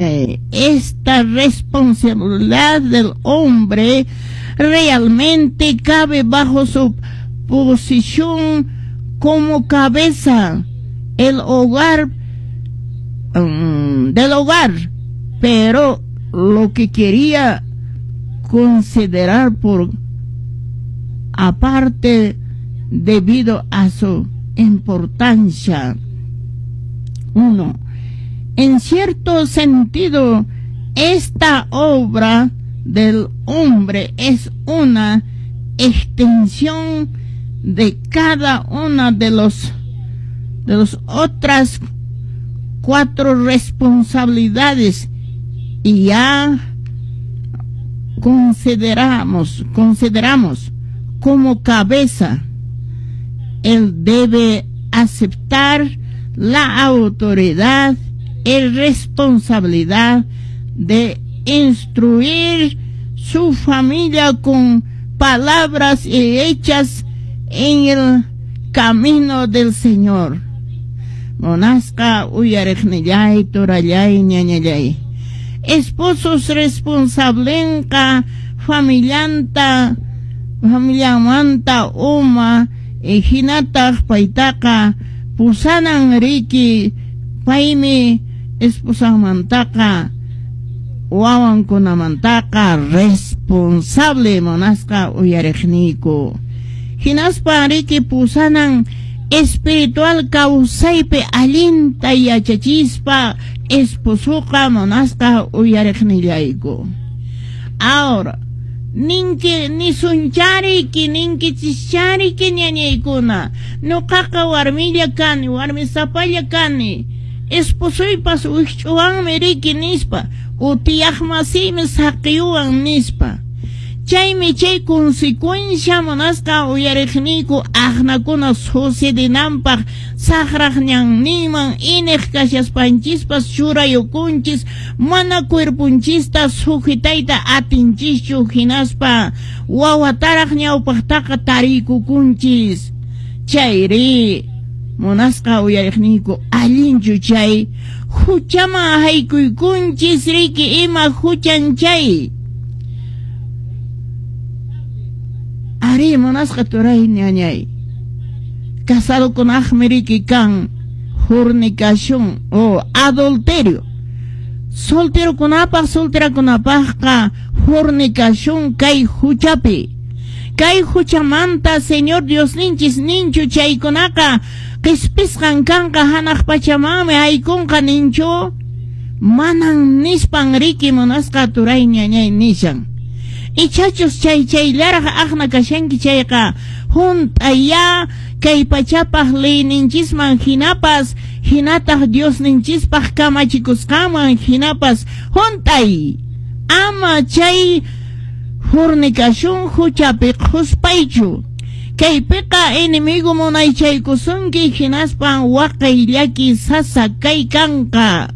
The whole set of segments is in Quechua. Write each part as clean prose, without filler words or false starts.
Esta responsabilidad del hombre realmente cabe bajo su posición como cabeza el hogar del hogar, pero lo que quería considerar por aparte debido a su importancia. 1. En cierto sentido, esta obra del hombre es una extensión de cada una de los otras cuatro responsabilidades y ya consideramos como cabeza, él debe aceptar la autoridad y responsabilidad de instruir su familia con palabras y hechas en el camino del Señor. Munasqa uyariqnillay, turallay, ñañallay. Esposos responsablenqa familianta, familiamanta uma, hinataq paytaqa pusanan riki, paymi esposanmantaqa wawankunamantaqa responsable, munasqa uyariqniyku. Hinaspa riki pusanan espiritual kawsaypi allinta yachachispa esposoqa, munasqa uyariqnillayku. Ahora, ninki nisunchariki, ninkichischariki, ñañaykuna: "Ñuqaqa warmilla kani, warmi sapalla kani, esposoypas wikch'uwanmi riki" nispa, "utiyaqmasiymi saqiyuwan" nispa. Chaymi chay consecuencia, munasqa uyariqniyku, aqnakuna sucedinanpaq saqraq ñanninman iniq kashaspanchispas churayukunchis, mana cuerponchista sujetayta atinchischu, hinaspa wawataraq ñawpaqtaqa tariykukunchis. Chayri, munasqa uyariqniyku, allinchu chay? Huchaman haykuykunchis riki. Ima huchan chay? Ari, munasqa turay, ñañay, casadokunaqmi riki kan fornicación o adulterio. Solterokunapaq, solterakunapaqqa fornicación. Kay huchapi, kay huchamanta Señor Diosninchis ninchu chaykunaqa qispisqan kanqa, hanaq pachamanmi haykunqa ninchu? Manan nispan riki, munasqa turay, ñañay, nishan. Ichachus chay chayllaraq aqna kashanki chayqa, hunt'aya kay pachapaq leyninchisman hinapas, hinataq Diosninchispaq kamachikusqanman hinapas hunt'ay. Ama chay fornicación huchapi qhuspaychu. Kaypiqa enemigo munaychaykusunki, hinaspan waqay, llaki, sasa kay kanqa,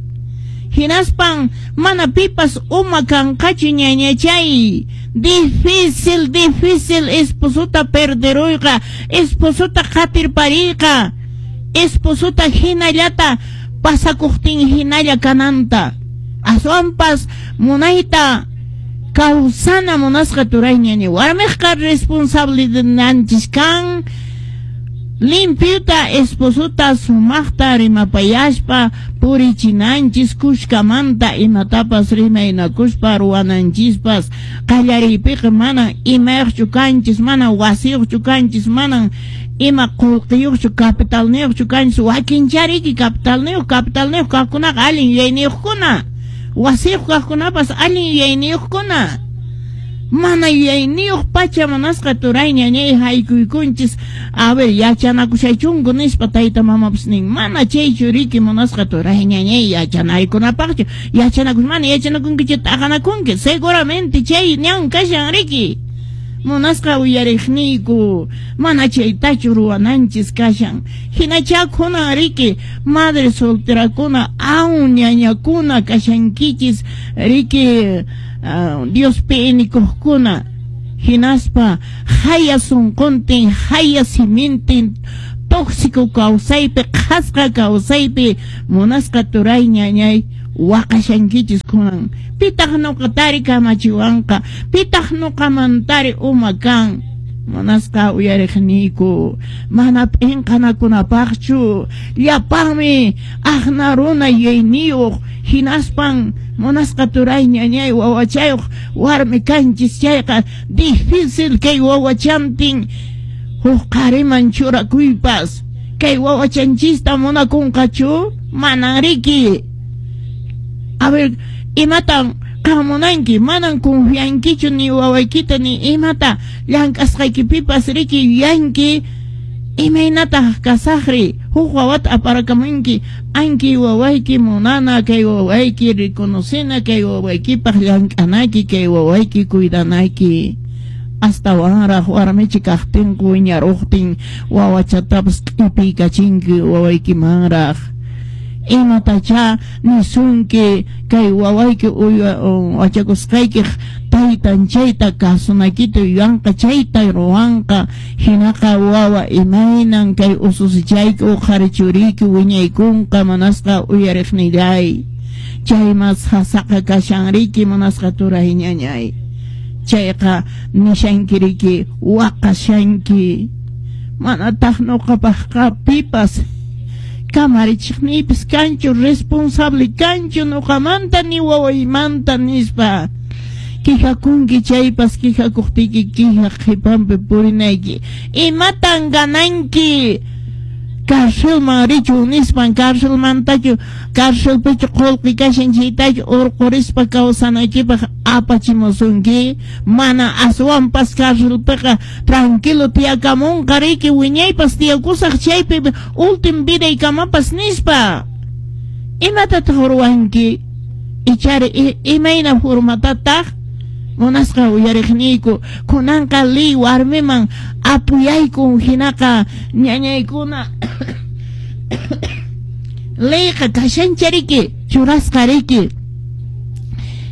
hinaspan mana pipas uma kanqachu, ñañachay. Difícil, difícil esposota perderuyqa, esposota qatirpariyqa, esposota hinallata pasakuqtin hinalla kananta. Aswanpas munayta kawsana, munasqa turay, ñañay. Warmiqqa responsabilidadninchis kan limpiuta esposota sumaqta rimapayaspa purichinanchis, kushkamanta imatapas rimaynakuspa ruwananchispas. Qallariypiqa manan imayuqchu kanchis, manan wasiyuqchu kanchis, manan ima qullqiyuqchu, capitalniyuqchu kanchis. Wakinchariki capitalniyuq. Capitalniyuq kaqkunaqa allin yuyayniyuqkuna, wasiyuq kaqkunapas allin yuyayniyuqkuna. Mana yuyayniyuq pacha, munasqa turay, ñañay, haykuykunchis. "A ver, yachanakushaychunku" nispa tayta mamapas nin. Mana chaychu riki, munasqa turay, ñañay, yachanaykunapaqchu. Yachanakush, mana yachanakunkichu, t'aqanakunki seguramente. Chay ñan kashan riki, munasqa uyariqniyku. Mana chaytachu ruwananchis kashan. Hinachá kunan riki madre solterakuna, aun ñañakuna kashankichis riki, Diospi inikuqkuna, hinaspa haya sunquntin, haya simintin tóxico kawsaypi, qhasqa kawsaypi, munasqa turay, ñañay. Waqashankichis kunan. Pitaq nuqatari kamachiwanqa, pitaq nuqamantari uma kan. Munasqa uyariqniyku, mana p'inqanakunapaqchu, llapanmi aqna runa yuyayniyuq, hinaspan munasqa turay ñañay wawachayuq warmi kanchis chayqa difícil kay wawachantin huk qhariman churakuypas. Kay wawachanchista munakunqachu? Manan riki. A ver, imatan qan munanki? Manan confiankichu ni wawaykita ni imata llank'asqaykipipas riki yuyanki. Imaynataq kasaqri? Huk wawata aparakamunki, anki wawayki munana, kay wawayki reconocena, kay wawaykipaq llank'anayki, kay wawayki cuidanayki. Astawanraq warmichi kaqtinku wiñaruqtin wawachatapas q'ipiykachinki wawaykimanraq. Imatachá nisunki kay wawayki wachakusqaykiq taytan chayta kasunaykita yuyanqa, chayta ruwanqa. Hinaqa wawa imaynan kay ususichayki uqhari churiyki wiñaykunqa munasqa uyariqnillay. Chaymas sasaqa kashan riki munasqa turay ñañay. Chayqa nishanki riki waqashanki. Manataq nuqapaqqa pipas kamarichiqniypis kanchu, responsable kanchu nuqamanta ni wawaymanta nispa. Quejakunki chaypas quejakuqtiyki quejaq qhipanpi purinayki. Imatan gananki? Carcelman richun nispan, carcelmantachu, carcelpichu qullqi kashan chaytachu urqurispa kawsanaykipaq apachimusunki. Mana aswanpas carcelpiqa tranquilo tiyakamunqa riki wiñaypas tiyakusaq chaypi último vidaykamapas nispa. Imatataq ruwanki? Ichari imayna formatataq munasqa uyariqniyku kunanqa ley warmiman apoyaykun hinaqa ñañaykuna leyqa kashancha riki churasqa riki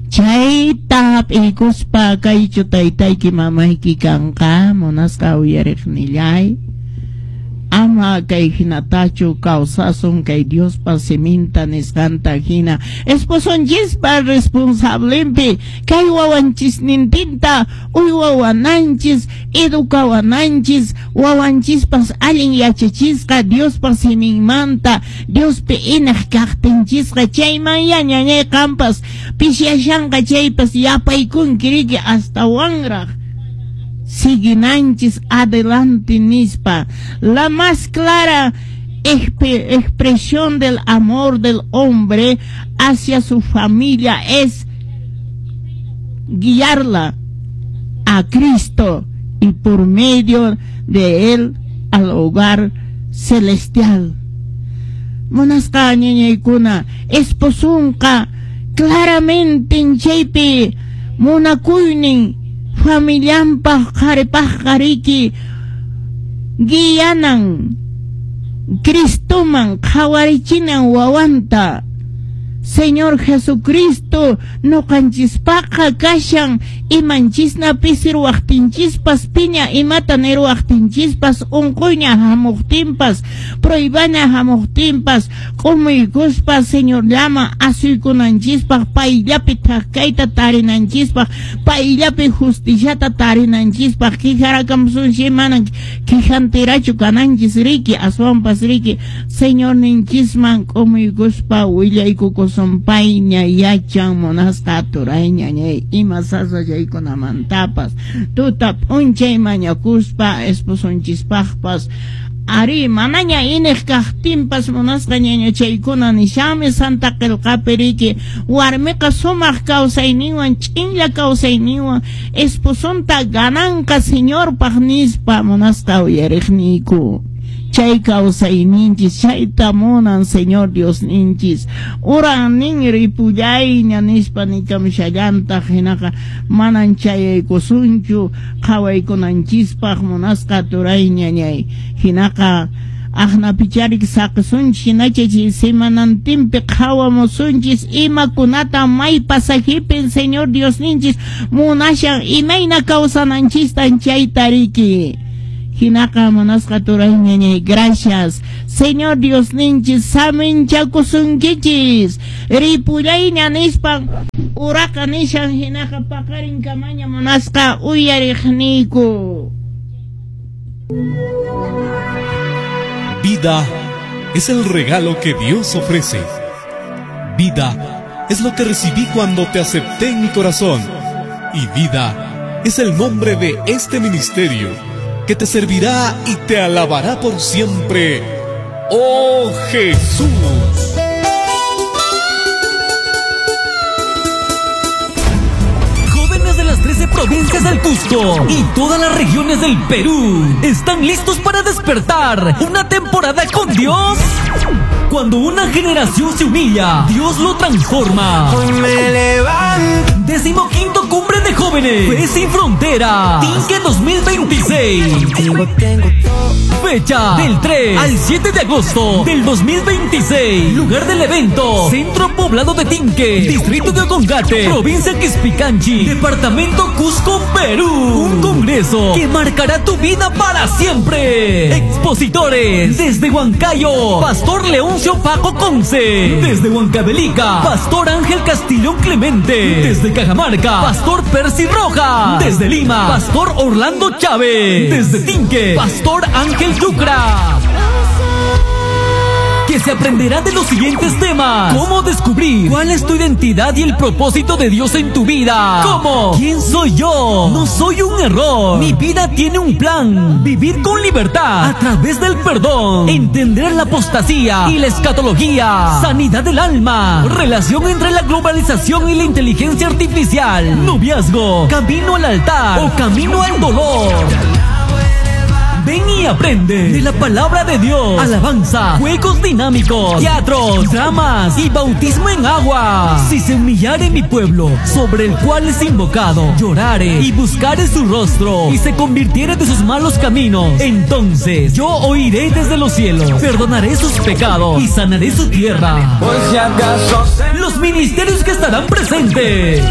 chayta hap'iykuspa kaychu taytayki mamayki kanqa munasqa uyariqnillay. Ama kay hinatachu kawsasun kay Diospa siminta nisqanta hina esposonchispa responsablenpi kay wawanchisnintinta uywawananchis educawananchis wawanchispas allin yachachisqa Diospa siminmanta Diospi inaq kaqtinchisqa chayman ya ñañay qampas pishyashanqa chaypas yapaykunki riki astawanraq siguinanchis adelante nispa. La más clara expresión del amor del hombre hacia su familia es guiarla a Cristo y por medio de él al hogar celestial. Munasqa ñañaykuna esposunqa claramente chaypi munakuynin familianpaq qharipaqqa riki guianan Cristoman qhawarichinan wawanta. Señor Jesucristo nuqanchispaqa kashan imanchisna pisirwaqtinchispas piña imata nirwaqtinchispas unquyña hamuqtinpas pruebaña hamuqtinpas k'umuykuspa Señorllaman asuykunanchispaq payllapi thak kayta tarinanchispaq payllapi justiciata tarinanchispaq quejarakamusunchis manan quejanterachu kananchis riki aswanpas riki Señorninchisman k'umuykuspa willaykukusun payña yachan munasqa turay ñañay ima sasachaykunamantapas tuta p'unchay mañakuspa esposonchispaqpas ari manaña iniq kaqtinpas munasqa ñañachaykuna nishanmi Santa Qillqapi riki warmiqa sumaq kawsayninwan ch'inlla kawsayninwan esposonta gananqa Señorpaq nispa munasqa uyariqniyku. Chay kawsayninchis chayta munan Señor Diosninchis urannin ripullayña nispa nikamushallantaq hinaqa manan chayaykusunchu qhawaykunanchispaq munasqa turay ñañay hinaqa aqnapicharik saqisunchis hinacha chay semanantinpi qhawamusunchis imakunata may pasajipin Señor Diosninchis munashan imayna kawsananchistan chayta riki. Hinaqa munasqa turay ñañay, gracias. Señor Diosninchis saminchakusunkichis. Ripullayña nispan uraqa nishan hinaqa paqarin kamaña munasqa uyariqniyku. Vida es el regalo que Dios ofrece. Vida es lo que recibí cuando te acepté en mi corazón. Y vida es el nombre de este ministerio que te servirá y te alabará por siempre. ¡Oh Jesús! Jóvenes de las 13 provincias del Cusco y todas las regiones del Perú, ¿están listos para despertar una temporada con Dios? Cuando una generación se humilla, Dios lo transforma. Hoy me levanto. 15ª Cumbre de Jóvenes, Fe Sin Frontera, Tinque 2026. Tengo todo. Fecha del 3 al 7 de agosto del 2026. Lugar del evento: Centro Poblado de Tinque, Distrito de Ocongate, Provincia Quispicanchi, Departamento Cusco, Perú. Un congreso que marcará tu vida para siempre. Expositores desde Huancayo, Pastor Leoncio Paco Conce. Desde Huancavelica, Pastor Ángel Castillón Clemente. Desde Cajamarca, Pastor Percy Rojas. Desde Lima, Pastor Orlando Chávez. Desde Tinque, Pastor Ángel Yucra. Que se aprenderá de los siguientes temas: cómo descubrir cuál es tu identidad y el propósito de Dios en tu vida. ¿Cómo? ¿Quién soy yo? No soy un error. Mi vida tiene un plan. Vivir con libertad a través del perdón. Entender la apostasía y la escatología. Sanidad del alma. Relación entre la globalización y la inteligencia artificial. Noviazgo. Camino al altar o camino al dolor. Ven y aprende de la palabra de Dios. Alabanza, juegos dinámicos, teatros, dramas y bautismo en agua. Si se humillare mi pueblo, sobre el cual es invocado, llorare y buscare su rostro y se convirtiere de sus malos caminos, entonces yo oiré desde los cielos, perdonaré sus pecados y sanaré su tierra. Por si acaso Los ministerios que estarán presentes: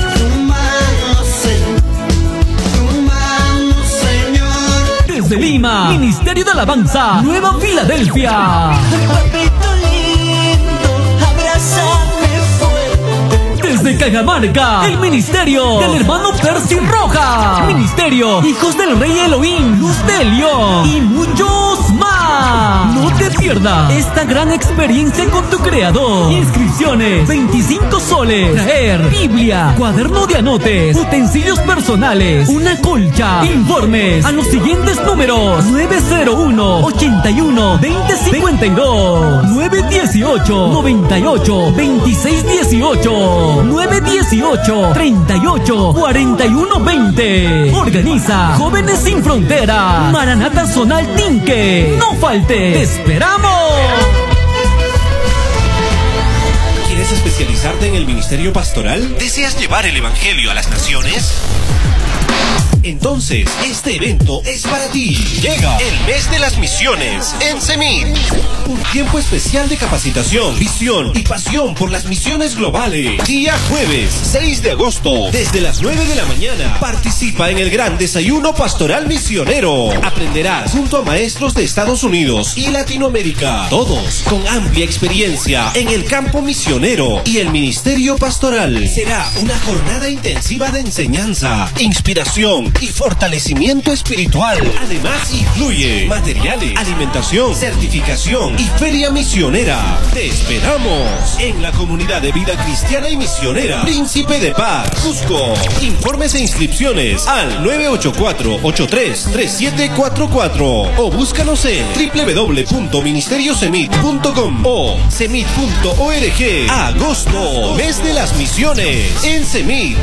de Lima, Ministerio de Alabanza, Nueva Filadelfia. Papito lindo, abrázame fuerte. Desde Cajamarca, el Ministerio del Hermano Percy Rojas. Ministerio Hijos del Rey Elohim, Luz de León y muchos más. No te pierdas esta gran experiencia con tu creador. Inscripciones: 25 soles. Traer Biblia, cuaderno de anotes, utensilios personales, una colcha. Informes a los siguientes números: 901 81 20 52, 918 98 26 18, 918 38 41 20. Organiza Jóvenes Sin Frontera, Maranata Zonal Tinque. No falte, ¡te esperamos! ¿Quieres especializarte en el ministerio pastoral? ¿Deseas llevar el evangelio a las naciones? Entonces, este evento es para ti. Llega el mes de las misiones en CEMIT. Un tiempo especial de capacitación, visión y pasión por las misiones globales. Día jueves, 6 de agosto, desde las 9 de la mañana. Participa en el gran desayuno pastoral misionero. Aprenderás junto a maestros de Estados Unidos y Latinoamérica, todos con amplia experiencia en el campo misionero y el ministerio pastoral. Será una jornada intensiva de enseñanza, inspiración y fortalecimiento espiritual. Además, incluye materiales, alimentación, certificación y feria misionera. Te esperamos en la comunidad de vida cristiana y misionera Príncipe de Paz, Cusco. Informes e inscripciones al 984-833744 o búscanos en www.ministeriosemit.com o semit.org. Agosto, mes de las misiones en CEMIT.